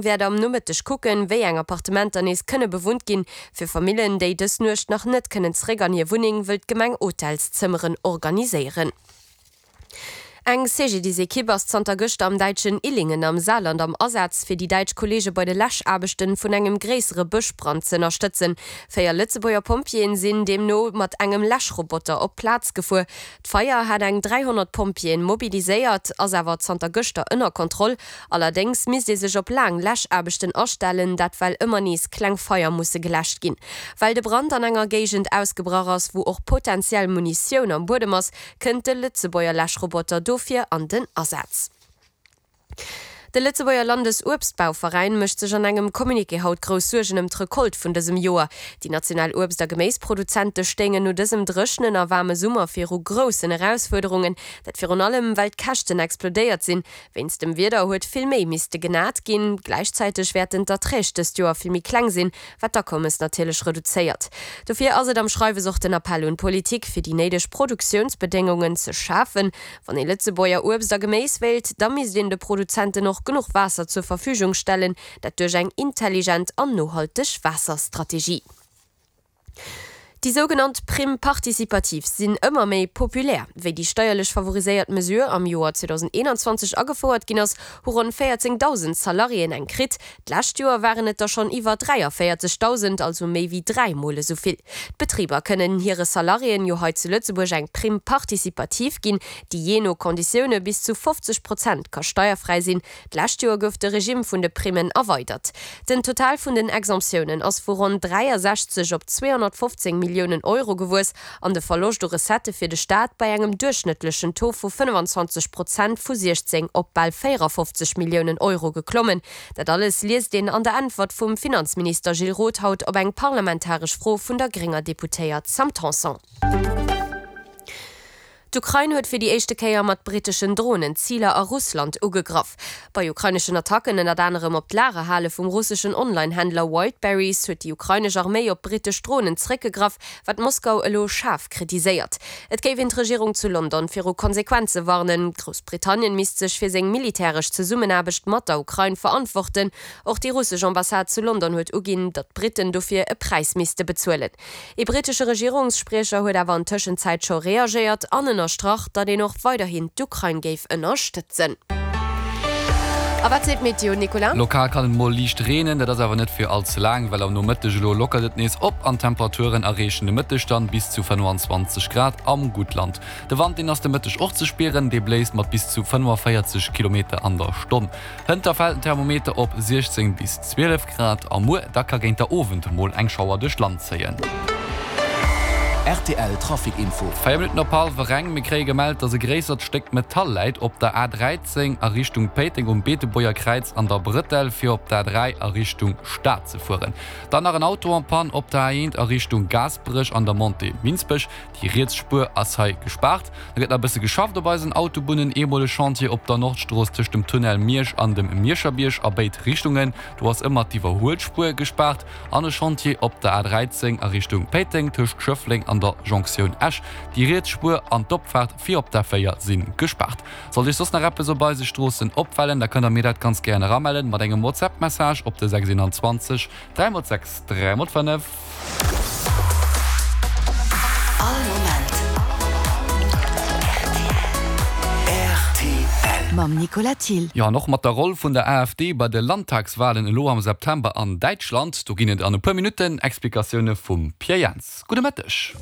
Wäert am Nomëtteg kucken, wéi eng Appartementer nees kënne bewunnt ginn. Fir Famillen, déi dës Nuecht nach net kënnen zeréck an hir Wunneng, wëll d'Gemeng Hotelszëmmeren organiséieren. Eng CGDIS-Ekipp ass zanter gëschter am däitschen Illingen am Saarland am Asaz, fir déi däitsch Kolleege bei de Läschaarbechten vun engem gréissere Bëschbrand z'ënnerstëtzen. 4 Lëtzebuerger Pompjeeën sinn deemno mat engem Läschroboter op d'Plaz gefuer. D'Feier hat eng 300 Pompjeeën mobiliséiert, ass awer zanter gëschter ënner Kontroll. Allerdéngs misst ee sech op laang Läschaarbechten astellen, dat well ëmmer nees kleng Feier musse geläscht ginn. Well de Brand an enger Géigend ausgebrach ass, wou och potentiell Munitioun am Buedem ass, kënnt de Lëtzebuerger Läschroboter dofir an den Asaz. De Lëtzebuerger Landesuebstbauveräin mécht sech an engem Communiqué haut grouss Suergen ëm d'Recolte vun dësem Joer. Déi national Uebst a Geméisproduzente stéingen no dësem dréchenen a waarme Summer viru groussen Erausfuerderungen. Dat virun allem, well d'Käschten explodéiert sinn. Wéinst dem Wieder huet vill méi misste genat ginn. Gläichzäiteg wäerten d'Erträg dëst Joer vill méi kleng sinn, wat d'Akommes natierlech reduzéiert. Dofir ass et am Schreiwes och den Appell un d'Politik, fir déi néideg Produktiounsbedéngungen ze schafen. Wann ee Lëtzebuerger Uebst a Geméis wéilt, da misst een de Produzenten och genuch Waasser zur Verfügung stellen, dat duerch eng intelligent an nohalteg Waasserstrategie. Déi sougenannt Prime participative sinn ëmmer méi populär. Wéi déi steierlech favoriséiert Mesure am Joer 2021 agefouert ginn ass, hu ronn 14.000 Salariéen eng kritt. D'lescht Joer waren et der schonn iwwer 43.000, also méi wéi 3 Mol esou vill. D'Betriber kënnen hire Salariéen jo hei zu Lëtzebuerg eng Prime participative ginn, déi jee no Konditioune bis zu 50 Prozent ka steierfräi sinn. D'lescht Joer gouf de Regimm vun de Primmen erweidert. Den Total vun den Exemptiounen ass vu ronn 63 op 215 Milliounen Euro gewuess an de Verloscht u Recettë fir de Staat bei engem duerchschnëttlechen Taux vu 25 Prozent vu 16 op bal 54 Milliounen Euro geklommen. Dat alles liest een an der Äntwert vum Finanzminister Gilles Roth haut op eng parlamentaresch Fro vun der grénger Deputéiert Sam Tanson. D'Ukrain huet fir déi éischte Kéier mat britteschen Dronen Ziler a Russland ugegraff. Bei ukraineschen Attacken, ënnert anerem op d'Lagerhale vum russeschen Online-Händler Wildberries, huet déi ukrainesch Arméi op brittesch Dronen zeréckgegraff, wat Moskau elo schaarf kritiséiert. Et géif een d'Regierung zu London viru Konsequenze warnen. Groussbritannien misst sech fir seng militäresch Zesummenaarbecht mat der Ukrain verantworten. Och déi russesch Ambassade zu London huet uginn, datt d'Britten dofir e Präis misste bezuelen. Ee brittesche Regierungsspriecher huet awer an Tëschenzäit scho reagéiert an ënnerstrach, datt een och weiderhin d'Ukrain géif ënnerstëtzen. A wat seet d'Meteo, Nicolas? Lokal kann et mol liicht reenen, dat ass awer net fir all ze laang, well am Nomëtteg elo lockert et nees op an d'Temperaturen erreechen de Mëtteg dann bis zu 25 Grad am Guttland. De Wand, deen ass de Mëtteg och ze spieren, dee bléist mat bis zu 45 Kilometer an der Stonn. Hënter fält den Thermometer op 16 bis 12 Grad a muer da ka géint der Owend mol eng Schauer duerch d'Land zéien. Rtl Trafic Info. 4 Minutten op hallwer eng, Mir kréie gemellt, dass e gréissert Stéck Metall läit op der A13 a Richtung Péiteng um Beetebuerger Kräiz an der Brëttel fir op d'A3 a Richtung Stad ze fueren. Dann nach en Auto en panne op der A1 a Richtung Gaasperech an der Montée Minsbech. Déi riets Spuer ass hei gespaart. Da gëtt nach e bësse geschafft op eisen Autobunnen. Eemol e Chantier op der Nordstrooss tëscht dem Tunnel Miersch an dem Mierscherbierg a béid Richtungen. Do ass ëmmer d'Iwwerhuelspuer gespaart. An e Chantier op der A13 a Richtung Péiteng tëscht Schëffleng an der Jonktioun Esch. Déi riets Spuer an d'Opfaart fir op d'A4 si gespaart. Sollt Iech soss nach eppes op eise Stroossen opfalen, da kënnt der mir dat ganz gären eramellen mat engem WhatsApp-Message op de 621 3 x 6 3 x 5. All Moment rtl. Mam Nicolas Thill. Jo, an och mat der Roll vun der AfD bei de Landtagswalen elo am September an Däitschland, do ginn et an e puer Minutten Explikatioune vum Pierre Jans. Gudde Mëtteg.